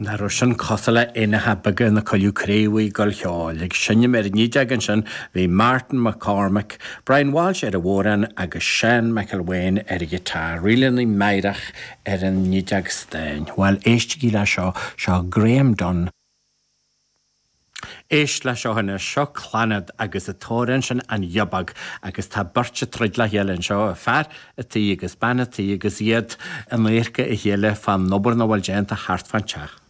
Nach raibh sin cosúil le éanacha beaga ina coilleadh craobhaí ag gabháil cheoil. Ag seinm ar an fhídeog ansin bhí Martin McCormack, Brian Walsh ar an bhodhrán agus Seán McElwain ar an ghiotár, ríleanna meidhreach ar an fhídeog stáin. Bhuel, éistigí le seo, seo Graham Dunne. Éist le seo anois, seo Clannad agus an t-amhrán sin An Ghiobóg agus tá beirt ag troid le chéile anseo, fear a' tí agus bean a' tí agus iad in adharca a chéile fán obair nach bhfuil déanta thart fán teach.